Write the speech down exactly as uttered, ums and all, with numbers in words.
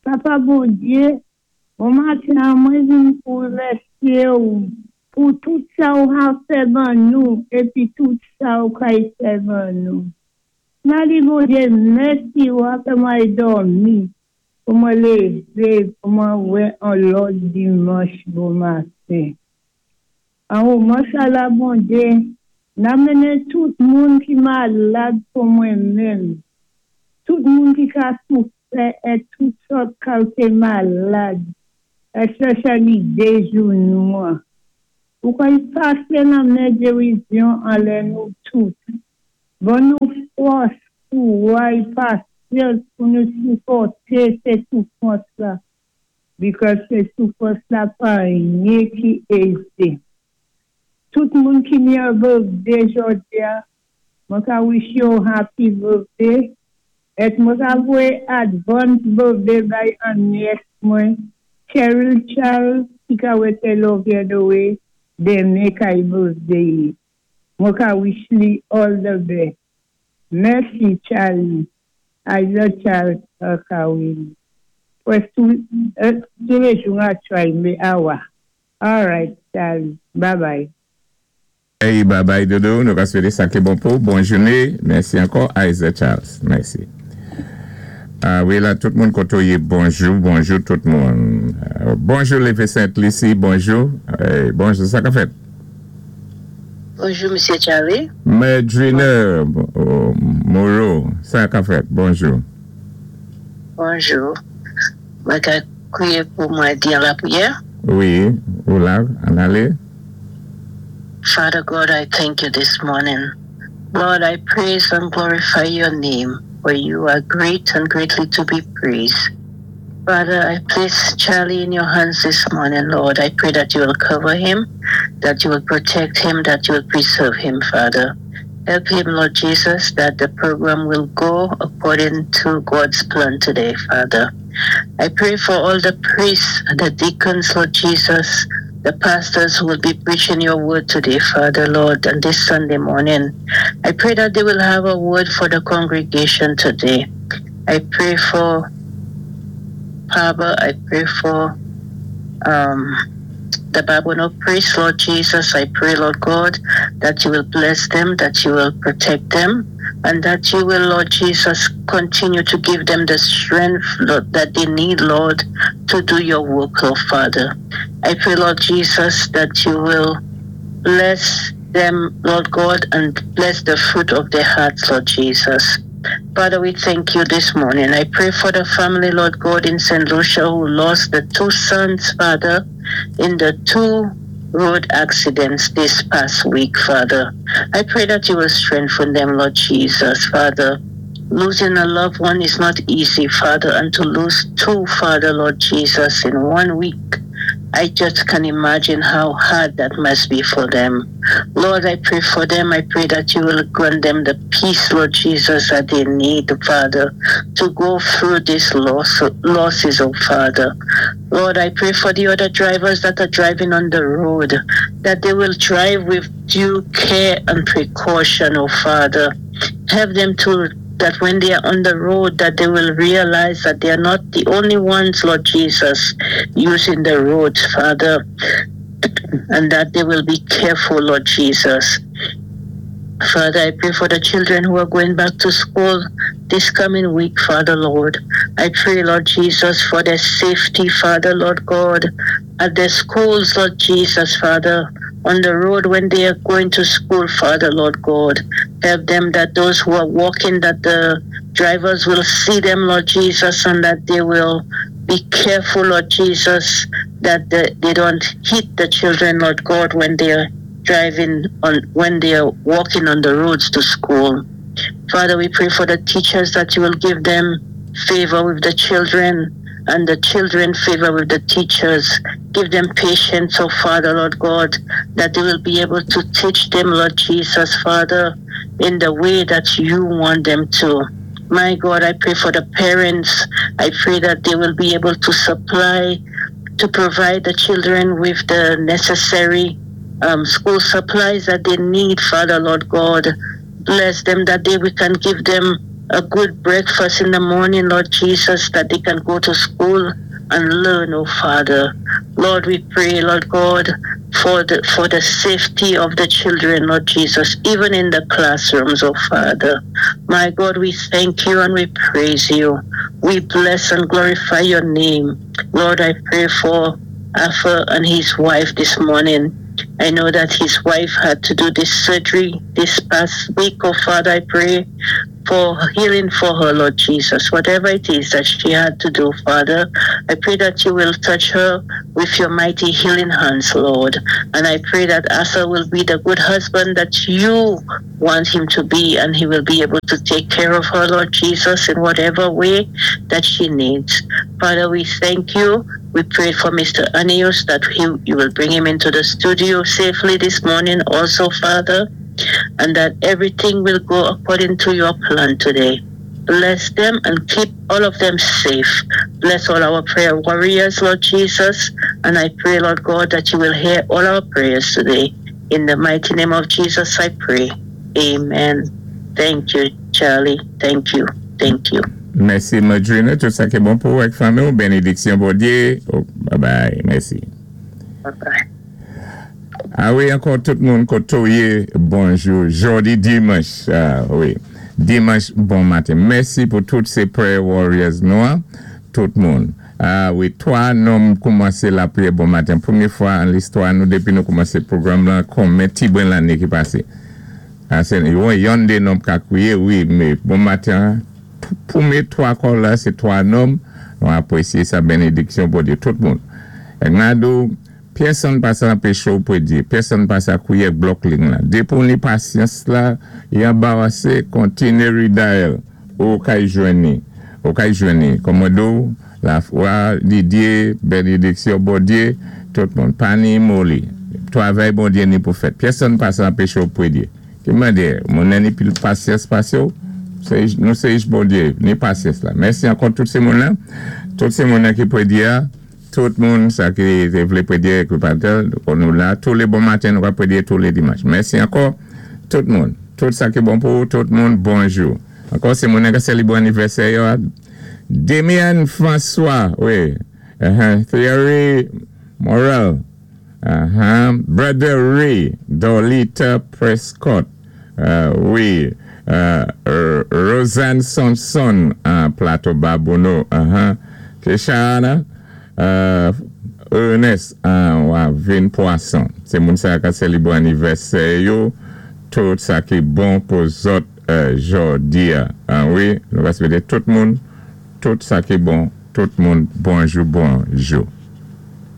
Papa Bondyé, bon maten, mwen vin pou remèsyé ou pou tout sa ou ka fè ban nou épi tout sa ou kay fè ban nou. Mwen di Bondyé, mèsi ou a fè mwen dòmi, pou mwen lévé, pou mwen wè an lòt dimanch bon maten. An moman sa la Bondyé, n ap mennen tout moun ki malad pou mwen menm. Tout moun ki ka soufè é tout sòt kalité malad, especially dé jounou an. Ou kay pasé nan men gerizyon anlè nou tout. Ban nou fòs, kouway, pasyans pou nou sipòté sé soufwans la. Because sé soufwans la pa anyen ki ézé. Tout moun ki ni an birthday jòdi a, mwen ka wish you happy birthday. Et mwen ka voyé advance birthday bay an niece mwen, Cheryl Charles, ki ka wété Oviedo-wé, denmen kay birthday li. Mwen ka wish li all the best. Mèsi Charlie. Isaac Charles Akawin. Pwès tou, euh, toulé jou a try mé awa. All right, Charlie. Bye bye. Hey, bye bye Dodo, nou ka swété sa ki bon pou. Bon jouné. Mèsi ankò Isaac Charles. Mèsi. Ah wi, la, tout moun koto yé, bonjou, bonjou tout moun. Euh, bonjou Lévé Sainte-Lucie, bonjou. Hey, bonjou, sa ka fèt? Bonjou, Msye Charlie. Medriner oh, Moreau, sa ka fèt? Bonjou. Bonjou. Mwen ka kwiyé pou mwen di an lapriyè. Wi, ou la, ann alé. Father God, I thank you this morning. Lord, I praise and glorify your name, for you are great and greatly to be praised. Father, I place Charlie in your hands this morning, Lord. I pray that you will cover him, that you will protect him, that you will preserve him, Father. Help him, Lord Jesus, that the program will go according to God's plan today, Father. I pray for all the priests, the deacons, Lord Jesus, the pastors who will be preaching your word today, Father, Lord, and this Sunday morning. I pray that they will have a word for the congregation today. I pray for Papa, I pray for um, the Babonneau priest, Lord Jesus. I pray, Lord God, that you will bless them, that you will protect them, and that you will, Lord Jesus, continue to give them the strength, Lord, that they need, Lord, to do your work, Lord Father. I pray, Lord Jesus, that you will bless them, Lord God, and bless the fruit of their hearts, Lord Jesus. Father, we thank you this morning. I pray for the family, Lord God, in St. Lucia who lost the two sons, Father, in the two road accidents this past week, Father. I pray that you will strengthen them, Lord Jesus, Father. Losing a loved one is not easy, Father, and to lose two, Father, Lord Jesus, in one week, I just can imagine how hard that must be for them. Lord, I pray for them. I pray that you will grant them the peace, Lord Jesus, that they need, Father, to go through these loss, losses, oh Father. Lord, I pray for the other drivers that are driving on the road, that they will drive with due care and precaution, oh Father. Help them to that when they are on the road that they will realize that they are not the only ones, Lord Jesus, using the roads, Father, and that they will be careful, Lord Jesus. Father, I pray for the children who are going back to school this coming week, Father, Lord. I pray, Lord Jesus, for their safety, Father, Lord God, at their schools, Lord Jesus, Father, on the road when they are going to school, Father, Lord God. Help them that those who are walking, that the drivers will see them, Lord Jesus, and that they will be careful, Lord Jesus, that the, they don't hit the children, Lord God, when they are driving on when they are walking on the roads to school. Father, we pray for the teachers that you will give them favor with the children and the children favor with the teachers. Give them patience, oh Father, Lord God, that they will be able to teach them, Lord Jesus, Father, in the way that you want them to. My God, I pray for the parents. I pray that they will be able to supply, to provide the children with the necessary um, school supplies that they need, Father, Lord God. Bless them that they we can give them a good breakfast in the morning, Lord Jesus, that they can go to school and learn, oh Father. Lord, we pray, Lord God, for the for the safety of the children, Lord Jesus, even in the classrooms, oh Father. My God, we thank you and we praise you. We bless and glorify your name. Lord, I pray for Arthur and his wife this morning. I know that his wife had to do this surgery this past week. Oh, Father, I pray for healing for her, Lord Jesus. Whatever it is that she had to do, Father, I pray that you will touch her with your mighty healing hands, Lord. And I pray that Arthur will be the good husband that you want him to be, and he will be able to take care of her, Lord Jesus, in whatever way that she needs. Father, we thank you. We pray for Mister Anius that he, you will bring him into the studio safely this morning also, Father, and that everything will go according to your plan today. Bless them and keep all of them safe. Bless all our prayer warriors, Lord Jesus. And I pray, Lord God, that you will hear all our prayers today. In the mighty name of Jesus, I pray. Amen. Thank you, Charlie. Thank you. Thank you. Mèsi, Madrina. Tout sa ki bon pou avèk fanmi. Bénédiksyon, Bondyé. Oh, bye bye. Mèsi. Bye bye. A wi, ankò tout moun koté ou yé, bonjou. Jòdi dimanch, ah, wi. Dimanch, bon maten. Mèsi pou tout sé prayer warriors nou, an. Tout moun. A wi, twa nonm koumansé lapriyè bon maten. Pwémyé fwa an listwa nou dépi nou koumansé pwogram lan, konmen ti bwen lanné ki pasé. A, sé yon dé nonm ka kwiyé, wi, mé bon maten, pwémyé twa call la, sé twa nonm, nou apwésyé sa, bénédiksyon Bondyé, tout moun. É nado, pèsonn pa sa anpéché ou pwédyé, pèsonn pa sa kwiyé block ling la. Dépi ou ni pasyans la, i anbarasé, kontiné redial, ou kay jwenn ni, ou kay jwenn ni. Kòmòdo, lafwa, Didier, bénédiksyon Bondyé, tout moun, pa ni moli. Twavay Bondyé ni pou fèt. Pèsonn pa sa anpéché ou pwédyé. Ki mandé, moun ni pil pasyans pasé ou, nou sé jis Bondyé, ni pasyans la. Mèsi ankò tout sé moun la, tout sé moun la ki pwédyé, tout moun sa ki té vlé pwédyé ki patel, nou la, tou lé bon maten nou ka pwédyé tou lé dimanch. Mèsi ankò, tout moun, tout sa ki bon pou tout moun, bonjou. Ankò sé moun ki sélébwé anivèsè yo, Damien François, wi, uh-huh, Thierry Morel, uh-huh, Brother Ray, Dolita Prescott, uh, wi, uh, Roseanne Sonson, uh, Plateau Babonneau, uh-huh, Keshana, Uh, Ernest uh, Vin Poisson. Sé moun sa ka sélébwé anivèsè yo, tout sa ki bon pou zòt uh, jòdi a. Ah, wi, nou va swété tout moun, tout sa ki bon, tout moun, bonjou, bonjou.